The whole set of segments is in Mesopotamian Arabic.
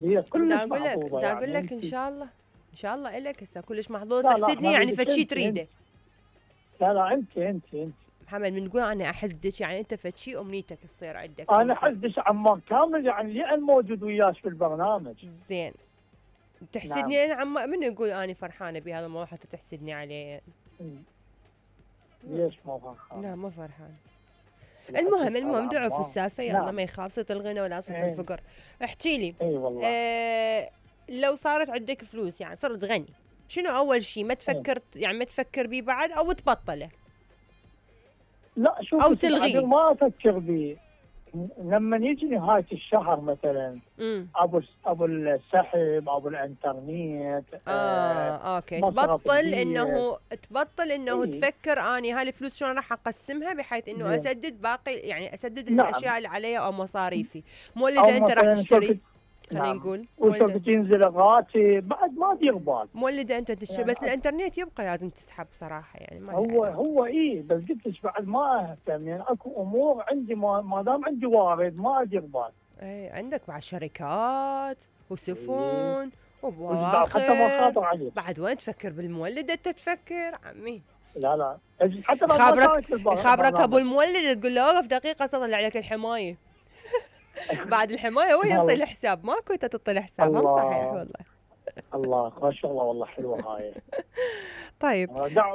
هي كلش دا محظوظه اقول يعني لك انت. ان شاء الله الك هسه كلش محظوظ لا لا تحسدني يعني حبيبتي فد شي انت. تريده. لا لا انت. محمد من تقول انا احسدك يعني انت فد شي امنيتك تصير عندك او انا يصير. حدش عمار كامل يعني لان موجود وياش في البرنامج. زين نعم. تحسدني انا من يقول اني فرحانه بهذا الموضوع حتى تحسدني عليه؟ ليش مو فرحان؟ لا ما فرحان. بالعكس هذا المهم دعوا في عمار. السالفه يلا، نعم. ما يخاف صوت الغنى ولا صوت اي. الفقر. احكي لي. اي والله. لو صارت عندك فلوس يعني صرت غني، شنو اول شيء ما اي. تفكر يعني ما تفكر بيه بعد او تبطله لا او شوف بعد تلغيه؟ ما افكر بيه. لما يجي نهايه الشهر مثلا، امم ابو السحب، ابو الانترنت، اوكي مصرف البيت. تبطل انه اي. تفكر اني هاي الفلوس شلون راح اقسمها بحيث انه زين. اسدد باقي يعني اسدد نعم. الاشياء اللي علي او مصاريفي. مو اللي او اذا انت راح مثلا شوف. تشتري، خلينا نعم. نقول مو وشوف اللي تنزل الراتب بعد ما دير بال. مولده انت تشتري يعني بس الانترنت يبقى لازم تسحب صراحه يعني ما هو له هو اي، بس قلت لك بعد ما اهتم يعني اكو امور عندي ما دام عندي وارد ما ادير بال. اي عندك بعد شركات اي. وسفن وجدار حتى ما وبواخر. خاطر عليك. بعد وين تفكر بالمولد انت تفكر عمي؟ لا لا. حتى بعد ما يخابرك كانت في يخابرك ابو البرنامج. المولد تقول له اوقف دقيقه اطلع لك الحمايه. بعد الحمايه هو ينطي الله. الحساب ماكو انت تعطي الحساب، هم صحيح الله. والله. الله ما شاء الله والله حلوه هاي. طيب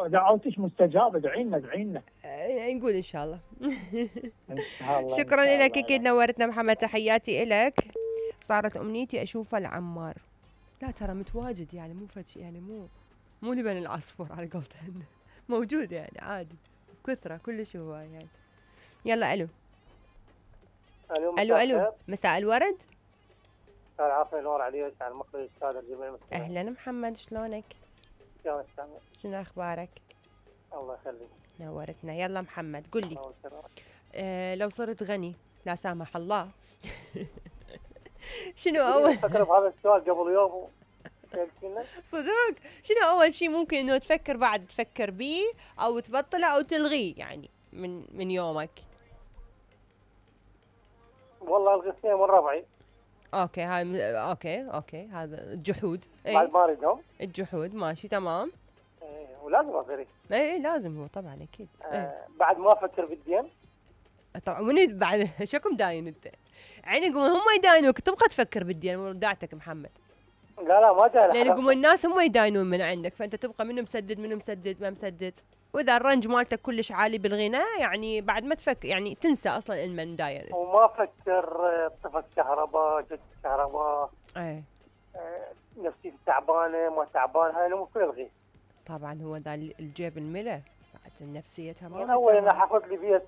دعوتك مستجابه، ادعي لنا ادعي لنا. نقول ان شاء الله. ان شاء الله ان شكرا شاء لك الله اكيد يعني. نورتنا محمد، تحياتي لك. صارت امنيتي اشوف العمار. لا ترى متواجد يعني مو فد يعني مو لبن العصفور على قولتهن. موجود يعني عادي بكثرة كلش هو يعني. يلا الو. الو مساء الورد. العافية نور عليك على المخرج الأستاذ الجميل المستمع. اهلا محمد شلونك؟ يا مستمع. شنو اخبارك؟ الله يخليك. نورتنا. يلا محمد قل لي. لو صرت غني لا سامح الله. شنو اول فكر بهذا السؤال قبل يوم صدق شنو اول شيء ممكن انه تفكر بعد تفكر بيه او تبطله او تلغيه يعني من يومك؟ والله الغثية من ربعي. اوكي هاي اوكي هذا الجحود. بعد ما اريدهم. الجحود ماشي تمام. ولازم اغري. اي لازم هو طبعا اكيد. بعد ما افكر بالدين. طبعا من بعد شكم داين انت يعني يقومون هم يداينوك تبقى تفكر بالدين وداعتك محمد. لا ما داين. لان يقومون الناس هم يداينون من عندك فانت تبقى منو مسدد ما مسدد. واذا الرنج مالتك كلش عالي بالغناء يعني بعد ما تفكر يعني تنسى اصلا المن داير. وما افكر طفت كهرباء جت كهرباء. نفسي تعبانه ما تعبانه هاي مو كل الغي. طبعا هو ذا الجيب الملا بعد النفسيه تمام. من اول انا حاخذ لي بيت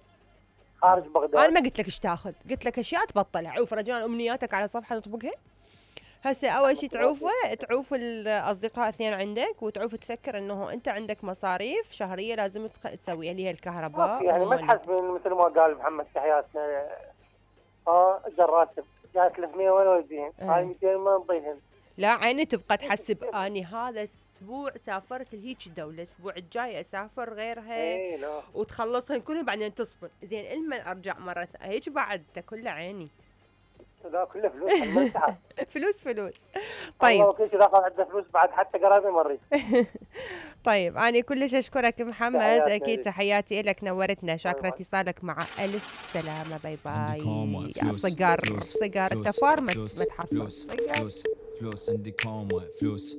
خارج بغداد. انا ما قلت لك ايش تاخذ، قلت لك اشياء تبطلها. عوف رجال امنياتك على صفحه نطبقها. هسه اول شيء تعوف الاصدقاء اثنين عندك وتعوف تفكر انه انت عندك مصاريف شهريه لازم تسويها اللي هي الكهرباء يعني ما تحسبين مثل ما قال محمد تحياتنا. الراتب جاي 300 وين وديهن؟ هاي 200 ما نطيهن. لا عيني تبقى تحسب اني هذا الاسبوع سافرت لهيك دوله، الاسبوع الجاي اسافر غيرها وتخلصهن كلهم بعدين تصفر. زين لما ارجع مره هيك بعد كله عيني. لا كله فلوس. فلوس. طيب والله كل شيء داخل عنده فلوس بعد حتى قرايبي مريض. طيب انا كلش اشكرك محمد، اكيد تحياتي لك نورتنا. شاكره اتصالك مع الف سلامه. باي باي. يا صقر التفار ما تحصل فلوس عندي كوم فلوس